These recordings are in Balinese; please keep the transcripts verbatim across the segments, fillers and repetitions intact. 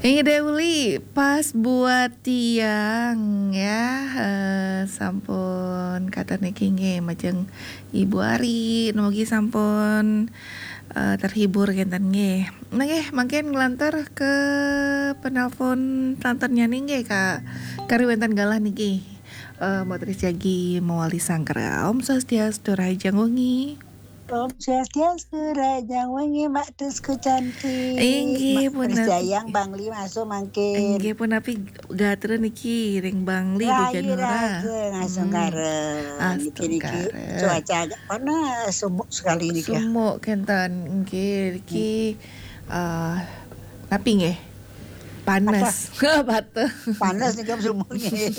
Inggih Dek Uli, pas buat tiang ya, eh, sampun katur niki nggih majeng Ibu Ari, mugi sampun, eh, terhibur kenten nggih. Nah nggih, mangkin nglantur ke penelpon selanjutnya nih nggih, Kak. Kari wenten galah niki. Eh, Mbok Tris jagi mawali sangkra. Om Swastiastu, rahajeng wengi. Om Swastiastu, rahajeng wengi, Mbak Trisku cantik. Inggih, Mbak Tris punapi. Jayang, Bangli masuk mangkin. Inggih, punapi gatra niki ring Bangli, Bu Rahayu Janura. Raja, ngasung Hmm. Kara. Niki, niki Astungkara. Cuaca agak panas, sumuk sekali niki. Sumuk kenten, inggih, niki, eh, napi nggih? Panas. Patah. Patah. Panas niki sumuk nggih.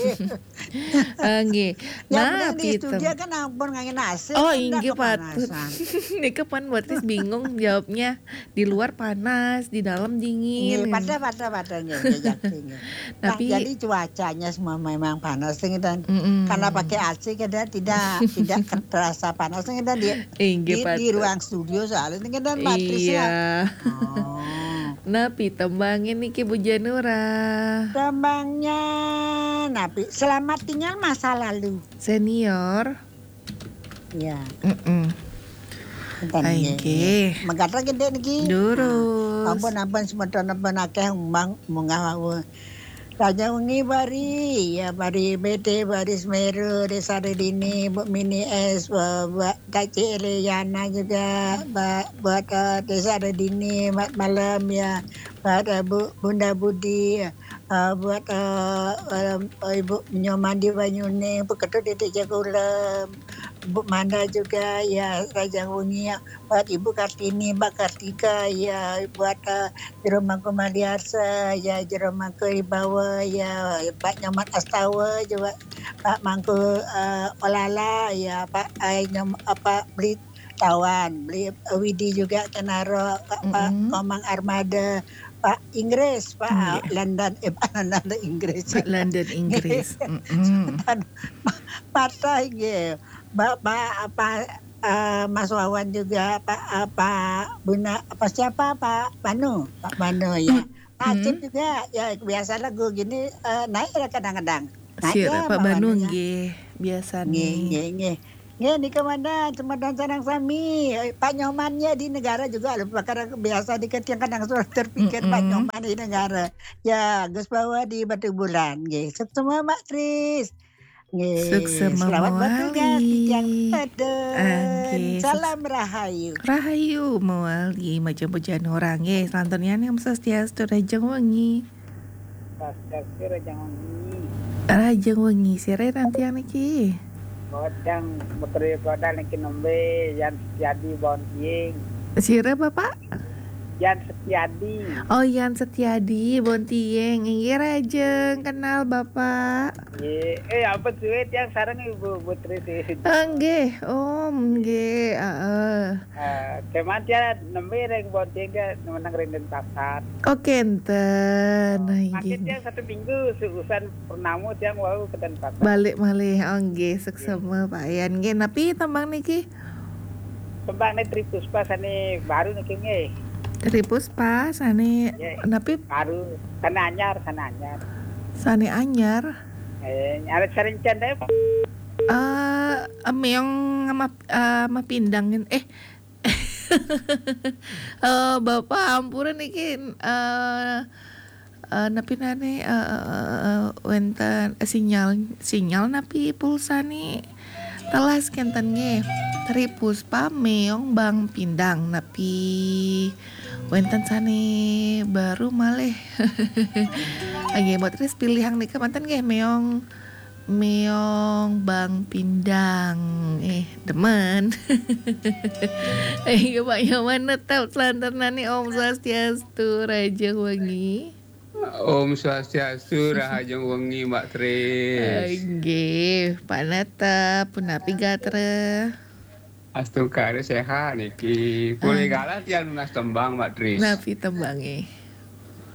Eh, nggih. Yang penting di studio kan ampun ngangge A C, oh, kan ndak inggih, patut kepanasan. Nika pan Mbok Tris bingung jawabnya. Di luar panas, di dalam dingin. Nggih, pada, pada, pada, nggih, nggih, jati, nggih. Nah, tapi jadi cuacanya semua memang panas, ngeten. Mm-mm. Karena pakai A C, kita tidak, tidak terasa panas, ngeten, di, inggih, di, di patut. Ruang studio soalnya, ngeten, Mbak Tris, ya. Iya. Oh. Napi tembangnya niki, Bu Janura? Tembangnya, napi, Selamat Tinggal Masa Lalu. Senior. Iya. Mm-mm. Enten, nggih, inggih. Nggih. Mangkata gedhe niki. Durus. Nah, ampun, ampun, semeton ampun akeh umbang munggah wau. Raja Wengi Bari, ya, Bari B T, Bari Semeru, Desa Redini, Bu Mini S, Bu, Bu Taci Eliana juga, Mbak, buat, eh, Desa Redini, Mat Malam, ya, buat, eh, Bu, Bunda Budi, eh, buat, eh, eh, Ibu Nyoman di Banyuning, Bu Ketut Didik Jagulem, Bu Manda juga, ya, Raja Wengi, ya, buat Ibu Kartini, Mbak Kartika, ya, buat, eh, Jero Mangku Maliarsa, ya, Jero Mangku Ibawa, ya, Pak Nyoman Astawa juga, Pak Mangku, eh, Olala, ya, Pak, eh, Nyom-, apa, Beli Tawan, Beli, eh, Widi juga Kenaro, Pak, Pak Mm-mm. Komang Armada, Pak Inggris, Pak, nggih. London, eh, Pak London Inggris. Pak London Inggris. Mm-mm. Semeton, Pak, Pak, nggih. Mbak, Pak, apa, eh, Mas Wawan juga, Pak, eh, Pak Buna, apa siapa, Pak Banu? Pak Banu, ya. Pak Acep juga, ya, biasa lagu gini, eh, naik lah kadang-kadang. Naik sira, ya, Pak Banu, Banu, ya. Nggih, biasa nggih, nih. Nggih, nggih. Nggih, nika mangkin semeton sareng sami. Eh, Pak Nyoman ya di negara juga lho, perkara biasa dikit yang kadang sudah terpikir Pak Mm-mm. Nyoman di negara. Ya, Gus Bawa di Batubulan, nggih. Suksma, Mbak Tris. Nggih, suksma selamat bertugas di tiang mawali. Tedun. Ah, nggih, suks-, salam rahayu. Rahayu mawali, majeng Bu Janura nggih. Selanjutnya nih, Om Swastiastu, rahajeng wengi. Swastiastu, rahajeng wengi. Rahajeng wengi, sira ring tiang niki? Godang, Putri Godang niki nembe, Yan Setiadi Bontiing. Sira, Bapak? Yan Setiadi. Oh, Yan Setiadi Bontiing. Inggih, rahajeng kenal, Bapak. Nggih. Eh, ampun suwe tiang sareng Ibu Putri sih. Ah, nggih, Om, nggih, heeh. Eh, keman tiang nembe ring Bontiing, meneng ring Denpasar. Oh, kenten. Oh, nah, mangkin inggih. Tiang satu minggu, seusan purnama tiang wau ke Denpasar. Balik malih, oh, nggih, suksma, nggih. Pak Yan. Nggih, napi tembang niki? Tembang nih Tri Puspa sane baru niki nggih. Tri Puspa sane, nggih, napi? Baru, sane anyar, sane anyar. Sane anyar? Eh, nyari sering cendai. Eh, meong sama, eh, sama pindang, eh. Eh, Bapak, ampura niki, eh, eh, napi nane, eh, eh, eh, eh, wenten, eh, sinyal, sinyal napi pulsane telas kenten nggih. Tri Puspa meong bang pindang napi wenten sane baru malih. Nggih, Mbok Tris pilihang nika manten nggih, meong Meong bang pindang. Eh, demen. Eh, Pak Nyoman netep selanjutnya nih, Om Swastiastu, rahajeng wengi. Om Swastiastu, rahajeng wengi, Mbak Tris. Nggih, Pak netep, punapi gatra? Astungkara sehat niki. Polih galah tiang nunas tembang, Mbak Tris. Napi tembange?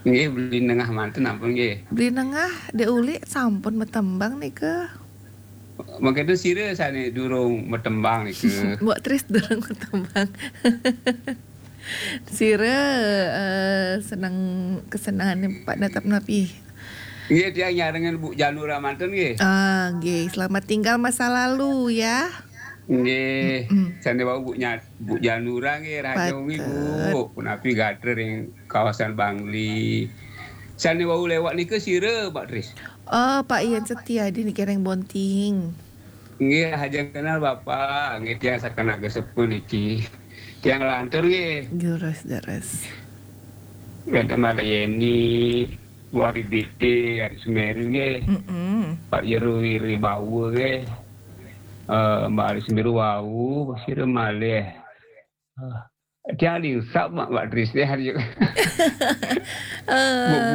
Nggih, Beli Nengah manten ampun nggih. Beli Nengah, Dek Uli sampun matembang nika. Mangkin sira sane durung matembang nika. Mbok Tris durung matembang. Sira eh, seneng kesenengane Pak Netep napi? Nggih, tiang nyarengan Bu Janura manten nggih. Ah, nggih, selamat tinggal masa lalu ya. Nggih, Mm. Sane wau Bu Nya-, Bu Janura nggih, rahaja wengi Patut. Bu. Punapi gatra ring kawasan Bangli. Sane wau lewat nika sira, Pak Tris? Oh, Pak Yan Setia di niki ring Bonting. Nggih, rahaja kenal Bapak. Nggih, tiang saking Naga Sepuh niki. Tiang lantur nggih. Deres, deres. Wenten Mara Yeni, Wari Dite, Ari Sumeru nggih. Mm-mm. Pak Yeru Wiri Bawa nggih. Eh, Mbak Ari Sumeru wau, sira malih. Eh, tiang diusap Mak, Mbak Tris nggih hari. Eh,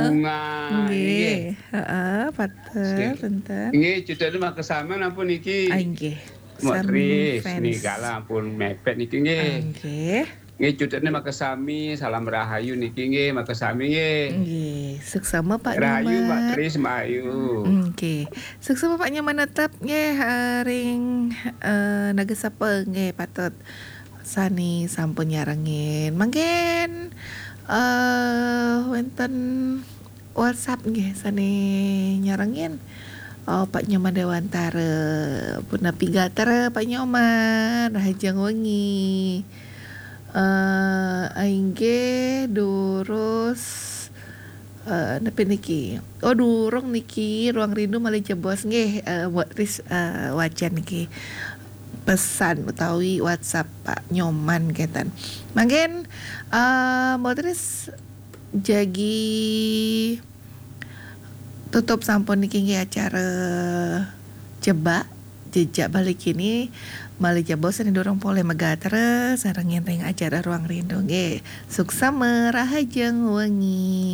Bunga nggih. Nggih, heeh, patut, Nggih. Punten. Nggih, cututne makasami ampun niki. Ah, nggih. Mbak Sami Tris, fans. niki kala ampun mepet niki nggih. Ah, nggih. Nggih, cututne makasami, salam rahayu niki nggih, makasami nggih. Nggih, suksma Pak Rahayu Mbak Nyoman. Tris, Mbak Ayu. Nggih. Suksma Pak Nyoman Netep nggih, eh, ring eh, Naga Sepuh nggih, patut sane sampun nyarengin. Mangkin eh wenten WhatsApp nggih sane nyarengin. Oh, Pak Nyoman Dewantara, punapi gatra Pak Nyoman, rahajeng wengi. Eh, inggih durus eh napi niki? Oh, durung niki, Ruang Rindu malih jebos nggih, eh, Mbok Tris, eh, wacan niki. Pesan utawi WhatsApp Pak Nyoman kenten. Mangkin eh Mbok Tris jagi tutup sampun niki nggih acara Jebak Jejak Bali Kini malih jebos sane durung polih magatra sareng ring acara Ruang Rindu nggih. Suksma rahajeng wengi.